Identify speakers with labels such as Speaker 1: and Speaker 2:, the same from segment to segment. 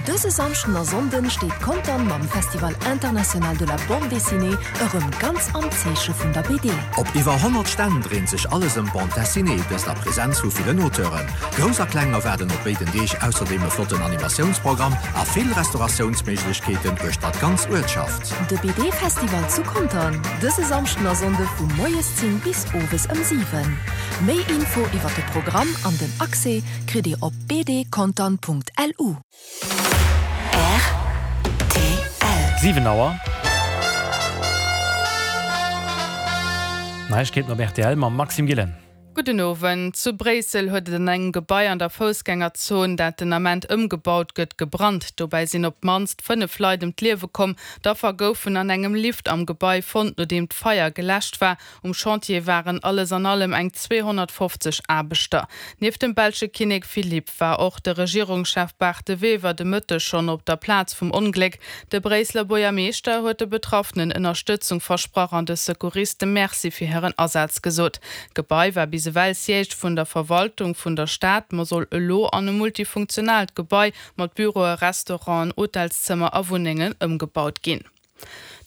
Speaker 1: Dëse Samschden a Sonnden steet Contern mam Festival International de la Bande Dessinée erëm ganz am Zeeche vun der BD.
Speaker 2: Op iwwer 100 Stänn dréint sech alles ëm d'Bande Dessinée, dëst a Presenz vu villen Auteuren. Grouss a Kleng erwaarden op béiden Deeg ausserdeem e flotten Animatiounsprogramm a vill Restauratiounsméiglechkeeten uechter d'ganz Uertschaft.
Speaker 1: De BD-Festival zu Contern, dëse Samschden a Sonnde vu moies 10 bis owes ëm 7. Méi Info iwwer de Programm an den Accès kritt Dir op bdcontern.lu.
Speaker 3: Rtl. 7 Auer. Neiegkeeten op rtl mam Maxime Gillen.
Speaker 4: Gudden Owend. Zu Bréissel huet et an engem Gebai an der Foussgängerzon, dat den Ament ëmgebaut gëtt, gebrannt. Dobäi sinn op d'mannst 5 Leit ëm d'Liewe komm. D'Affer goufen an engem Lift am Gebai fonnt, nodeem d'Feier geläscht war. Um Chantier waren alles an allem eng 250 Aarbechter. Nieft dem belsche Kinnek Philippe war och de Regierungschef Bart De Wever de Mëtteg schonn op der Plaz vum Ongléck. De Bréisseler Buergermeeschter huet de Betraffenen Ënnerstëtzung versprach an de Secouriste Merci fir hiren Asaz gesot. D'Gebai war bis ewell Siège vun der Verwaltung vun der Stad, ma soll elo an e multifunktionaalt Gebai mat Büroe, Restauranten, Hotelszëmmer a Wunnengen ëmgebaut ginn.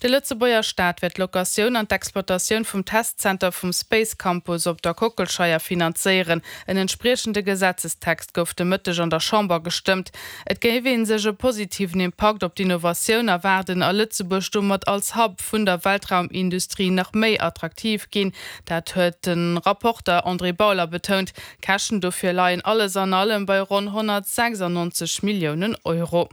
Speaker 4: De Lëtzebuerger Staat wäert d'Locatioun an d'Exploitatioun vum Testzenter vum Space Campus op der Kockelscheier finanzéieren. En entspriechende Gesetzestext gouf de Mëtteg an der Chamber gestëmmt. Et géif ee sech e positiven Impakt op d'Innovatioun erwaarden a Lëtzebuerg domat als Hub vun der Weltraumindustrie nach méi attraktiv ginn. Dat huet de Rapporter André Bauler betount. D'Käschten dofir leien alles an allem bei ronn 196 Milliounen Euro.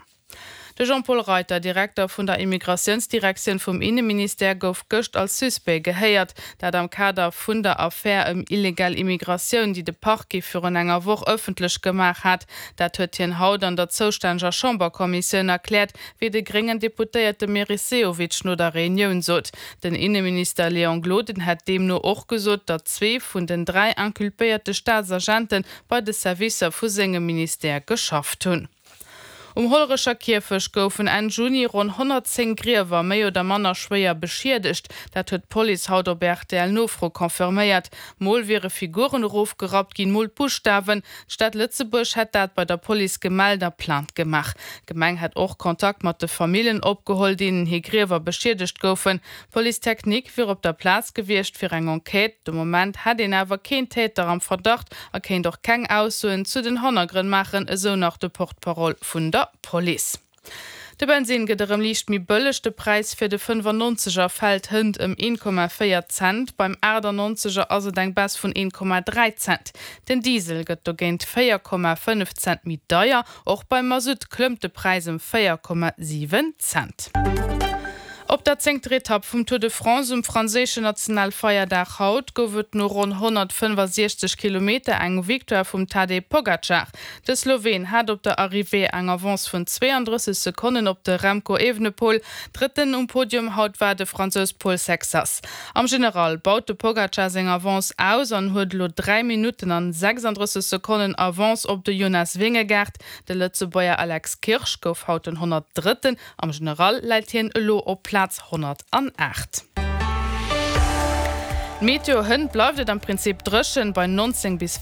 Speaker 4: De Jean-Paul Reiter, Direkter vun der Immigratiounsdirektioun vum Inneministère, gouf gëscht als Suspect gehéiert. Dat am Kader vun der Affär ëm illegal Immigratioun, déi de Parquet virun enger Woch ëffentlech gemaach hat. Dat huet hien haut an der zoustänneger Chamberkommissioun erkläert, wéi de gréngen Deputéierte Meris Sehovic no der Reunioun sot. Den Inneminister Léon Gloden hätt deemno och gesot, datt zwee vun den 3 inculpéierte Staatsagente bei de Servicer vu sengem Ministère geschafft hunn. Um Hollerecher Kierfecht goufen Enn Juni ronn 110 Griewer méi oder manner schwéier beschiedegt. Dat huet d'Police haut op RTL-Nofro confirméiert. Mol wiere Figuren erofgerappt ginn, mol Buschtawen. D'Stad Lëtzebuerg hätt dat bei der Police gemellt a Plainte gemaach. D'Gemeng hätt och Kontakt mat de Famillen opgeholl, deenen hir Griewer beschiedegt goufen. D'Police technique wier op der Plaz gewiescht fir eng Enquête. De Moment hätt een awer keen Täter am Verdacht a kéint och keng Aussoen zu den Hannergrënn maachen, esou nach de Porte-parole vun der Police. De Bensinn gëtt erëm liicht méi bëlleg, de Präis fir de 95 er fält hënt ëm 1,4 Cent, beim 98 er ass et eng Baisse vun 1,3 Cent. Den Diesel gëtt dogéint 4,5 Cent méi deier. Och beim Masutt klëmmt de Präis ëm 4,7 Cent. Op der zéngter Etapp vum Tour de France um franséischen Nationalfeierdag haut gouf et no ronn 165 Kilometer eng Victoire vum Tadej Pogacar. De Sloween hat op der Arrivée eng Avance vun 32 Sekonnen op de Remco Evenepoel. Drëtten um Podium haut war de Fransous Paul Sexas. Am General baut de Pogacar seng Avance aus an huet elo 3 Minutten an 36 Sekonnen Avance op de Jonas Vingegaard. De Lëtzebuerger Alex Kirsch gouf haut den 103. Am General läit hien elo op Plaz 108. D'Meteo, Hënt bleift et am Prinzip dréchen bei 19 bis.